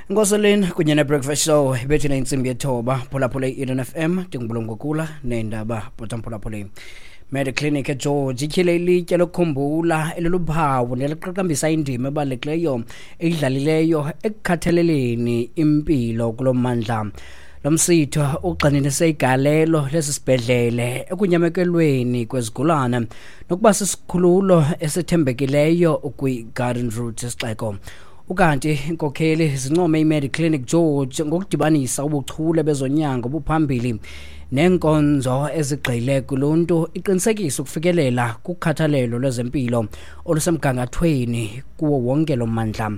Nkoseleni kunye ne-Breakfast Show ibethina intsimbi yethoba. Phulaphula i-Eden FM, ndingubulungokula neendaba bhotamphulaphuleni. Mediclinic eGeorge ityhile ilitye lokukhumbula eliluphawu neliqaqambisa indima ebalulekileyo eyidlalileyo ekukhathaleleni impilo kulo mmandla. Lo msitho ugxininise igalelo lesi sibhedlele ekunyamekelweni kwezigulana nokuba sisikhululo esithembekileyo kwi-Garden Route sixeko. Ukanti inkokheli zincome iMediclinic George ngokudibanisa ubuchule bezonyango obuphambili neenkonzo ezigxile kuluntu, iqinisekisa ukufikelela kukhathalelo lwezempilo olusemgangathweni kuwo wonke lo mmandla.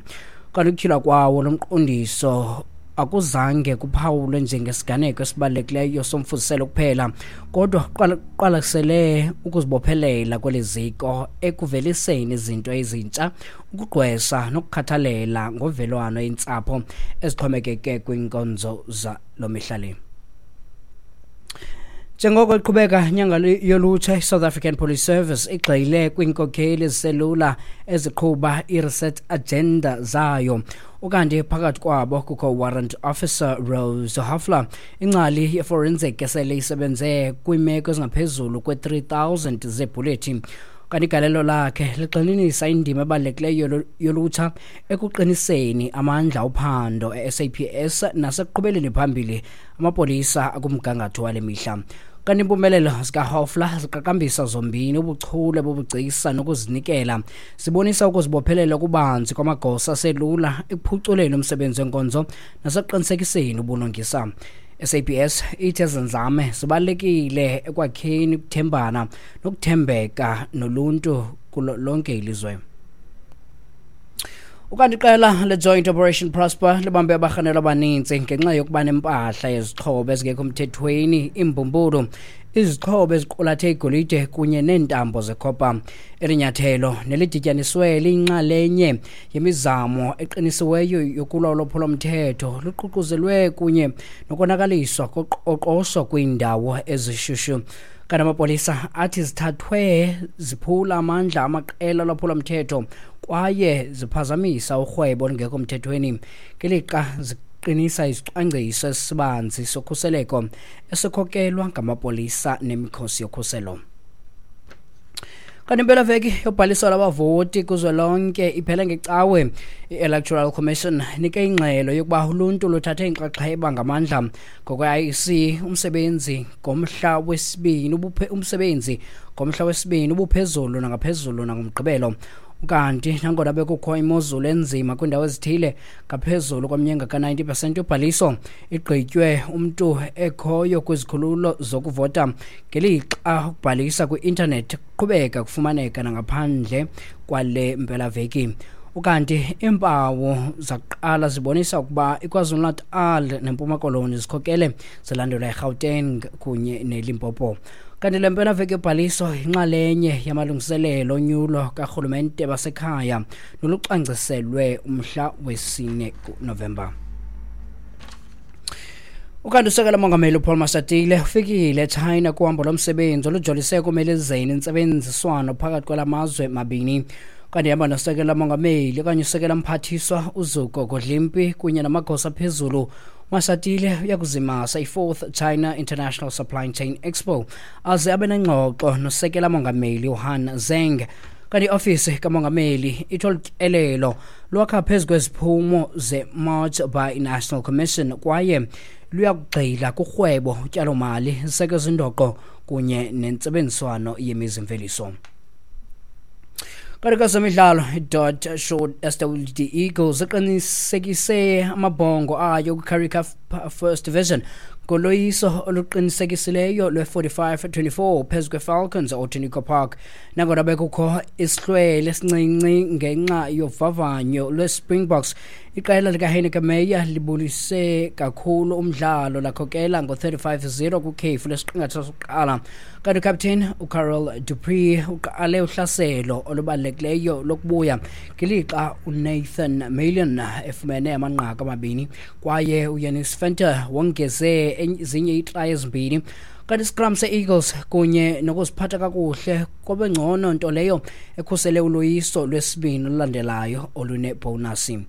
Kanti ukutyhilwa kwawo lo mqondiso akuzange kuphawulwe njengesiganeko esibalulekileyo somfuziselo kuphela, kodwa kuqwalasele ukuzibophelela kweli ziko ekuveliseni izinto ezintsha, ukugqwesa nokukhathalela ngovelwano iintsapho ezixhomekeke kwiinkonzo zalo mihla le. Njengoko iqhubeka inyanga yolutsha, iSouth African Police Service igxile kwiinkokheli eziselula eziqhuba i-reset agenda zayo. Ukanti phakathi kwabo kukho Warrant Officer Rose Hafler, ingcali ye-forensic esele isebenze kwiimeko ezingaphezulu kwe-3000 zeebhulethi. Kanti igalelo lakhe ligxininisa indima ebalulekileyo yolutsha ekuqiniseni amandla ophando e-SAPS nasekuqhubeleni phambili amapolisa akumgangatho wale mihla. Kanti impumelelo zikaHofler ziqaqambisa zombini ubuchule bobugcisa nokuzinikela, zibonisa ukuzibophelela okubanzi kwamagosa aselula ekuphuculeni umsebenzi wenkonzo nasekuqinisekiseni ubulungisa. SAPS ithi ezi nzame zibalulekile ekwakheni ukuthembana nokuthembeka noluntu kulo lonke ilizwe. Ukanti iqela le-Joint Operation Prosper libambe abarhanelwa abaninzi ngenxa yokuba nempahla yezixhobo ezingekho mthethweni, iimbumbulu, izixhobo eziqulathe igolide kunye neentambo zekhopa. Eli nyathelo nelidityaniswe liyinxalenye yemizamo eqinisiweyo yokulwa ulwaphulomthetho luququzelwe kunye nokonakaliswa koqoqosho kwiindawo ezishushu. Kanti amapolisa athi zithathwe ziphula amandla amaqela olwaphulomthetho kwaye ziphazamisa urhwebo olungekho mthethweni ngelixa ziqinisa isicwangciso esibanzi sokhuseleko esikhokelwa ngamapolisa nemikhosi yokhuselo. Kanti impelaveki yobhaliso lwabavoti kuzwelonke iphele ngecawe. I-Electoral Commission nike ingxelo yokuba uluntu luthathe inxaxheba ngamandla. Ngokwe-IEC, umsebenzi ngomhla wesibini ubuphezulu nangaphezulu nangomgqibelo. Ukanti nangona bekukho imozulu enzima kwiindawo ezithile, ngaphezulu kwamnyenga ka-90% yobhaliso igqitywe umntu ekhoyo kwizikhululo zokuvota, ngelixa ukubhalisa kwi-intanethi kuqhubeka kufumaneka nangaphandle kwale mpelaveki. Ukanti iimpawu zakuqala zibonisa ukuba iKwaZulu-Natal neMpuma Koloni zikhokele, zilandelwa iGauteng kunye neLimpopo. Kanti le mpelaveki yobhaliso yinxalenye yamalungiselelo onyulo karhulumente basekhaya nolucwangciselwe umhla wesine kuNovemba. Ukanti usekela mongameli uPaul Mashatile ufikile eChina kuhambo lomsebenzi olujolise ekomelezeni intsebenziswano phakathi kwala mazwe mabini. Kanti ihamba nosekela mongameli okanye usekela mphathiswa uZuko Godlimpi kunye namagosa aphezulu. Mashatile uyakuzimasa i-4th China International Supply Chain Expo aze abe nengxoxo nosekela mongameli uHan Zeng. Kanti iofisi kamongameli ithi olu tyelelo lwakha phezu kweziphumo ze-March by National Commission kwaye luyakugxila kurhwebo, utyalomali, ziseko ezindoqo kunye nentsebenziswano yemizimveliso. Kanti kwezemidlalo, i-Dot Short SWD Eagles iqinisekise amabhongo ayo kwi-Currie Cup First Division ngoloyiso oluqinisekisileyo lwe-45-24 phezu kwe-Falcons Outeniqua Park. Nangona bekukho isihlwele esincinci ngenxa yovavanyo lwe-Springboks, iqela likaHeyneke Meyer libulise kakhulu umdlalo, lakhokela ngo-35-0 kwikhefu lesiqingatha sokuqala. Kanti ukapteni uCarel Dupree uqale uhlaselo olubalulekileyo lokubuya ngelixa uNathan Million efumene amanqaku amabini kwaye uYanis Venter wongeze ezinye iitrayi ezimbini. Kanti iscrum se-Eagles kunye nokuziphatha kakuhle kwabe ngcono, nto leyo ekhusele uloyiso lwesibini olulandelayo olunebhonasi.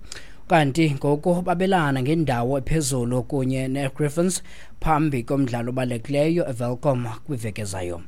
Kanti ngoku babelana ngendawo ephezulu kunye neGriffons phambi komdlalo obalulekileyo eWelkom kwiveki ezayo.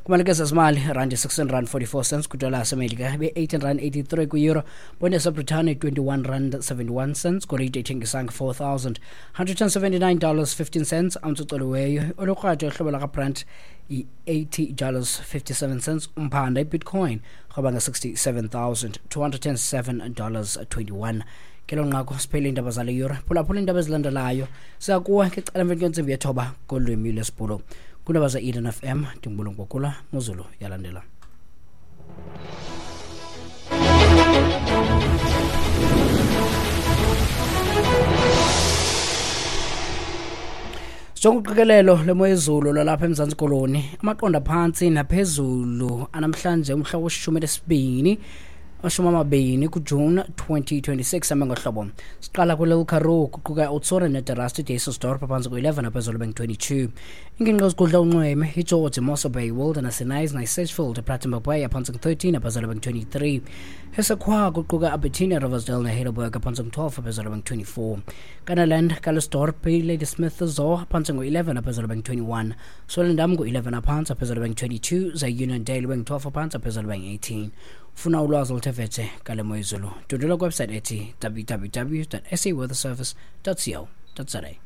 Kumalike zezimali, randi 16 rand 44 cents kwidola yasemelika, be-18 rand 83 kwi-euro, bonde yaseBritane 21 rand 71 cents, golide ithengisa nge-$4,179 dollars 15 cents ounce ucoliweyo olukrwada uhlobo lakaBrent i-80 dollars 57 cents. Umphanda ibitcoin rhoba nge-$67,207 dollars 21. Kelo nqaku siphele iindaba zale yure. Phulaphula iindaba ezilandelayo siyakuwa ngecala emveni kwentsimbi yethoba ngolwimi lwesiBhulu. Kwiindaba ze-Eden FM, ndingubulungu Bokula Mozulu yalandela. Jonga uqikelelo lemo yezulu lwalapha eMzantsi Koloni, amaqondo aphantsi naphezulu anamhlanje umhla weshumi lesibini 20 kuJuni 2026 ame ngohlobo. Siqala kwele Karoo, kuquka uTsore neDerasti, Dysselsdorp phantsi ku-11, aphezulu bengu-22. Ingingqi ezigudla unxweme iGeorge, Mossel Bay, Wilderness, Knysna, Sedgefield, Plettenberg Bay phantsi ku-13, aphezulu bengu-23. Hessequa kuquka Albertina, Riversdale neHeidelberg phantsi ku-12, aphezulu bengu-24. Kannaland, Calitzdorp, Ladysmith, Zoar phantsi ngo-11, aphezulu bengu-21. Swellendam ngo-11 aphantsi, aphezulu bengu-22. Ze-Uniondale bengu-12 aphantsi, aphezulu bengu-18. Funa ulwazi oluthe vetshe ngale mo yezulu, dundula kwiwebsite ethi www saweatherservice co za.